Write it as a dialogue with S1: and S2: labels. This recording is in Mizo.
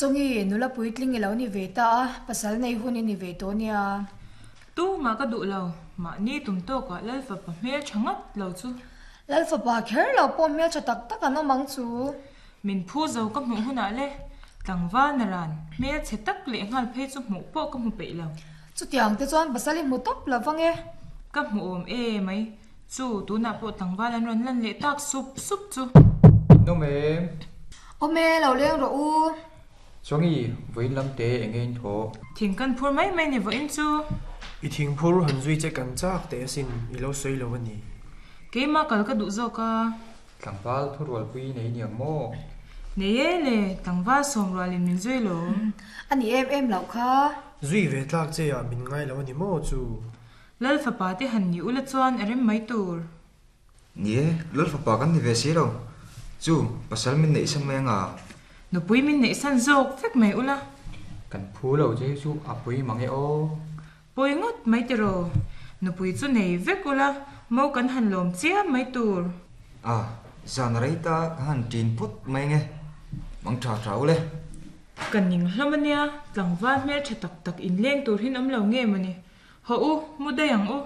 S1: Chawngi, nula puitling i lo ni ve ta a, pasal nei hun i ni ve tawh nia.
S2: Tumah ka duh lo, mahni tum tawkah Lalfapa hmel tha ngat lo chu.
S1: Lalfapa kher lo pawh hmel tha tak tak an awm ang chu.
S2: Min phu zo ka hmuh hunah le, tlangval naran hmel chhe tak leh nghal phei chu hmuh pawh ka hmu peih lo.
S1: Chutiang te chuan pasal i hmu tawp lo vang e.
S2: Ka hmu awm e mai. Chu, tunah pawh tlangval an rawn lan leh tak sup sup chu.
S3: In awm em?
S1: Awm e, lo leng rawh u.
S3: Chawngi, vawiin lam te eng nge in thawh?
S2: Thing kan phur mai mai ni vawiin chu.
S4: I thing phur han zui che kan chak teh asin, i lo sawi lo a ni.
S2: Keimah kal ka duh zawk a.
S3: Tlangval thurualpui nei niang maw?
S2: Nei e le, tlangval sawmrualin min zui lo.
S1: A ni em em loh kha.
S4: Zui ve tlak che ah min ngai lo a ni maw chu?
S2: Lal fapa te han ni ula chuan a rem mai tur.
S5: Ni e, Lal fapa kan ni ve si lo. Chu, pasal min neih san mai anga.
S2: Nupui min neih san zawk vek mai ula.
S3: Kan phu lo che hi chu a pui mang e aw.
S2: Pawi ngawt mai tiraw? Nupui chu nei vek ula, mo kan han lawm chiam mai tur.
S5: A, zan a rei ta ka han ṭin phawt mai nge. Mang ṭha ṭha ule.
S2: Ka ning hlawm ania, tlangval hmelṭha tak tak inleng tur hin awm lo nge mawni. Haw u, mu daih ang u.